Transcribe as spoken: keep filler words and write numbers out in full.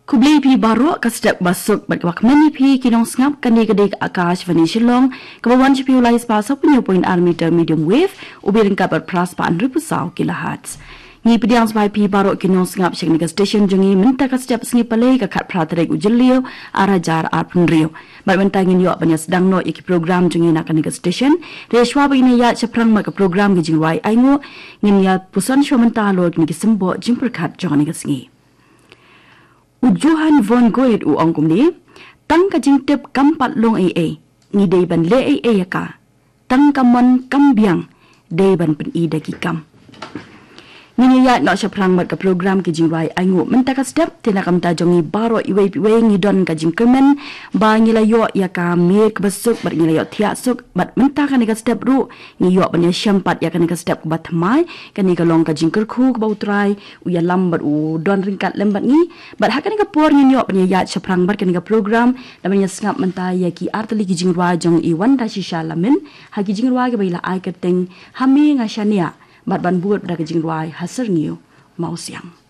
Khublei phi baroh, ka step ba suk bad ka ba kmen ïa phi ki nongsngap. Kane ka dei ka Akashvani Shillong, ka ba wan sha phi u lai spah saw phew point ar meter medium wave, u byrngkat bad phra spah hynriew phew saw kilohertz. Ngi pdiang sngewbha ïa phi baroh ki nongsngap sha kane ka station jong ngi mynta ka step sngi Palei, ka khatphra tarik u Jylliew, ar hajar arphew hynriew. Bad mynta ngin ïoh ban ïa sdang noh ïa ki program jong ngi na kane ka station. Te shuwa ba ngin ïa shaphrang bad ka program ki jingrwai ainguh, ngin ïa puson shuwa mynta halor kine ki symboh jingpyrkhat jong kane ka sngi. U Johann von Goethe u ong kumne: "Tang ka jingtip kam pat long ei ei, ngi dei ban leh ei ei ïa ka. Tang ka mon kam biang, dei ban pyni da ki kam." Ngin ïa ïaid noh shaphrang bad ka program ki jingrwai ainguh mynta ka step. Te na ka bynta jong ngi baroh iwei pa iwei, ngi don ka jingkyrmen ba ngi la ïoh ïa ka miet ka ba suk bad ngi la ïoh thiah suk, bad mynta kane ka step ruh ngi ïoh ban ïa shem pat ïa kane ka step ka ba thymmai. Kane ka long ka jingkyrkhu ka ba U Trai u ïalam bad u don ryngkat lem bad ngi. Bad ha kane ka por ngin ïoh ban ïa ïaid shaphrang bad kane ka program, da ban ïa sngap mynta ïa ki artylli ki jingrwai jong i Wanda Shisha Lamin, ha ki jingrwai ki ba i la ai kyrteng Ha Me Nga Shaniah, bad ban bud bad ka jingrwai Ha Syrngiew Mawsiang.